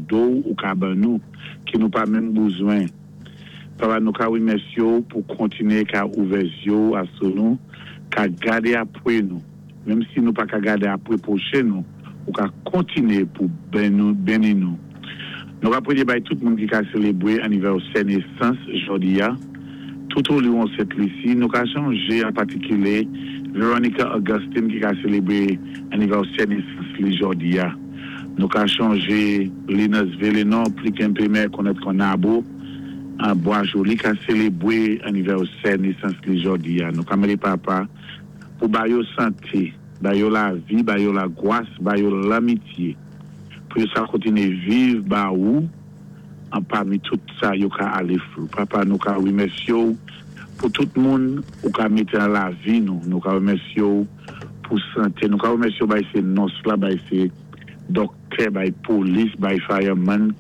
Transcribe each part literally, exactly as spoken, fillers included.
kado ou ka ban nou, ki nou pa menm bézwen. Papa, nou ka wimèsyé pou kontiné ka ouvè zyé asou nou, ka gadé apwé nou. Menm si nou pa ka gadé apwé pwochen nou, ou ka kontiné pou béni nou. Nou ka pwéyé bay tout moun ki ka sélébwé anivèsè nésans jòdi-a, tout olwon Sent Lisi, nou ka chonjé an patikilé Veronica Augustine ki ka sélébwé anivèsè nésans li jòdi-a. Nou ka chonjé Linus Villeneuve, pli kenpé konnèt kon Nabo, an Bois-Joli ka sélébwé anivèsè nésans li jòdi-a. Nou ka mandé Papa pou ba yo santé, ba yo lavi, ba yo lagwas, ba yo lanmityé, pou yo sa kontiné viv ba ou, an pami tout sa yo ka alé through. Papa, nou ka wimèsyé pou tout moun ou ka mété an lavi nou. Nou ka wimèsyé pou santé. Nou ka wimèsyé bay sé nòs la, bay sé dòktè, bay polis, bay fireman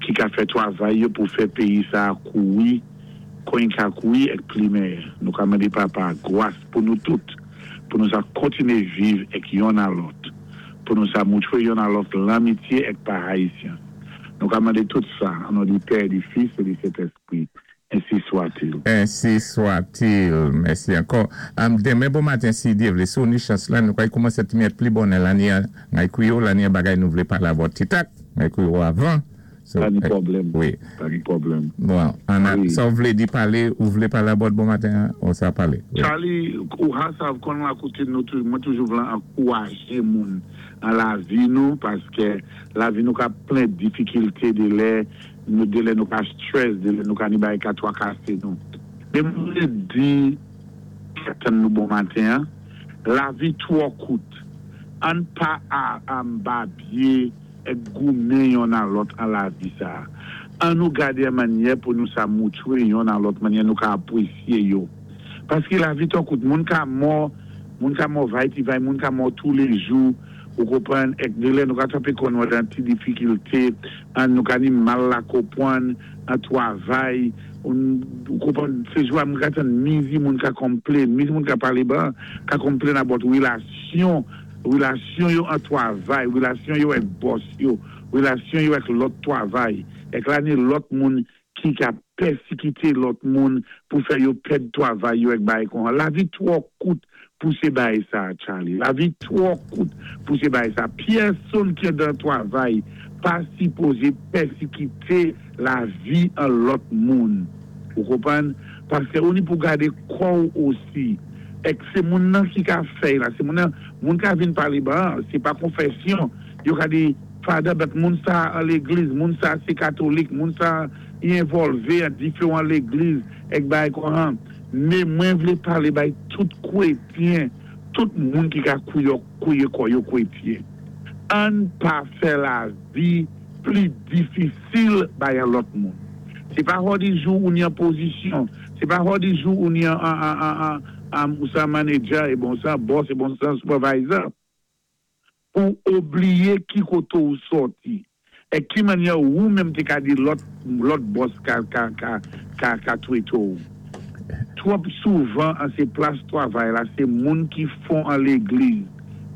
ki ka fè twavay yo pou fè péyi sa koui, kon ka koui èk pli mèyè. Nou ka mandé Papa gwas pou nou tout, pou nou sa kontiné viv èk yonn a lòt, pou nou sa moutwé yonn a lòt lanmityé èk pa haïtien. Nou ka mandé tout sa, an non di Pè, di Fis é di Sentèspwi. Ensi swa-t-il. Ensi swa-t-il. Mèsi ankò. Um, denmen bon maten, si Dye vlé, si ou ni chans la, nou pway koumansé ti mèt pli bonè lanni, ngay kouyo, lanni bagay nou vlé palé about titak, ngay kouyo avan. So, Pa ni pwoblèm. Wi. Pa ni pwoblèm. Bon, an a, Wi. sa ou vlé di palé, ou vlé palé about bon maten, ou sa palé? Wi. Charlie, ou ha sav kon la koute nou tou, mwen toujou vle ankouwajé moun an lavi nou, paské lavi nou ka plen difikilté de lè, nou de lè nou ka stress, de lè nou ka ni bay ka twakasé nou. Mé mwen vlé di, tann nou bon maten, lavi twò kout. Ann pa a, an babyé èk goumen yonn a lòt an lavi sa. An nou gadé an mannyè pou nou sa moutwé yonn a lòt mannyè nou ka apwésyé yo. Paské lavi twò kout, moun ka mò, moun ka mò vay ti vay, moun ka mò tou lé jou, ou konpwann, èk de lè nou ka twapé kon nou dan ti difikilte, an nou ka ni mal la konpwann, an twavay, ou, ou konpwann, sé jou a moun ka tann mizi moun ka konplenn, mizi moun ka palé ban, ka konplenn about wilasyon, wilasyon yo an twavay, wilasyon yo èk boss yo, wilasyon yo èk lòt twavay, èk la ni lòt moun ki ka pèsikité lòt moun pou fè yo pèd twavay yo èk bay kon. Lavi twò kout pou sé bay sa, Charlie. Lavi twò kout pou sé bay sa. Pyèsonn ki dan twavay pa sipozé pèsikité lavi an lòt moun. Ou konpwann? Paské ou ni pou gadé kò ou osi. Èk sé moun nan ki ka fè la, sé moun nan, moun ka vin palé ban, sé pa konfèsyon. Yo ka di, Father, but moun sa an légliz, moun sa sé katolik, moun sa y envòlvé an diferan légliz, èk bay kon an. Mé mwen vlé palé bay tout kwétyen, tout moun ki ka kouyo, kouye kò yo kwétyen. Ann pa fè lavi pli difisil bay an lòt moun. Sé pa hò di jou ou ni an pozisyon, sé pa hò di jou ou ni an, an, an, an, an, an, ou sa manager, é bon sa boss, é bon sa supervisor, pou oubliyé ki koto ou sòti. É ki mannyè ou menm té ka di lòt, lòt boss ka, ka, ka, ka, ka twété ou. Twòp souvan an sé plas twavay la, sé moun ki fon an légliz,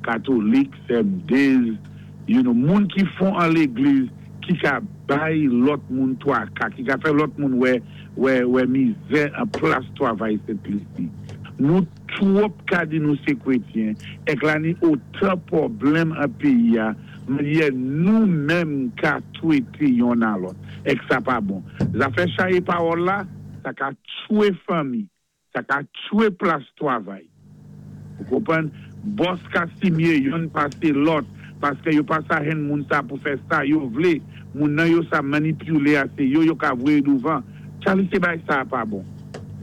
katolik, C M Ds, you know, moun ki fon an légliz ki ka bay lòt moun twaka, ki ka fè lòt moun wè, wè, wè mizè an plas twavay Sent Lisi. Nou twòp ka di nou sé kwétyen, èk la ni otan pwoblèm an péyi a, mannyè nou menm ka twété yonn a lòt. Èk sa pa bon. Zafè chaye pawòl la, sa ka tchwé fanmi, sa ka tchwé plas twavay. Ou konpwann? Boss ka si myé yonn pasé lòt, paské yo pa sa hen moun sa pou fè sa yo vlé, moun nan yo sa manipilé a sé yo yo ka voyé douvan. Charlie, sé bagay sa pa bon.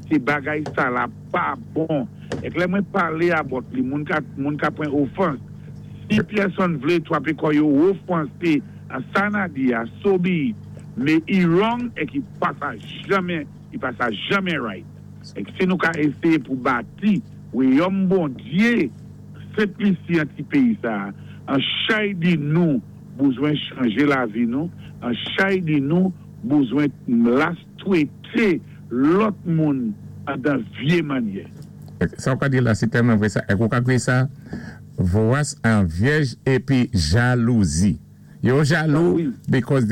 Sé bagay sa la pa bon. Èk lè mwen palé about li, moun ka, moun ka pwan ofans. Si pyèsonn vlé twapé kò yo ofansé an sa na di a, so be it. Mé i wrong èk i pa sa janmen, i pa sa janmen right. Èk si nou ka éséyé pou bati, wayòm Bondyé, Sent Lisi an ti péyi sa, an chay di nou bézwen chanjé lavi nou, an chay di nou bézwen las twété lòt moun an dan vyé mannyè. Sa ou ka di la, sé tèlman vwé sa. Èk ou ka kwé sa, vowas an vyèj épi jalouzi. Yo jalou Ah wi. Because they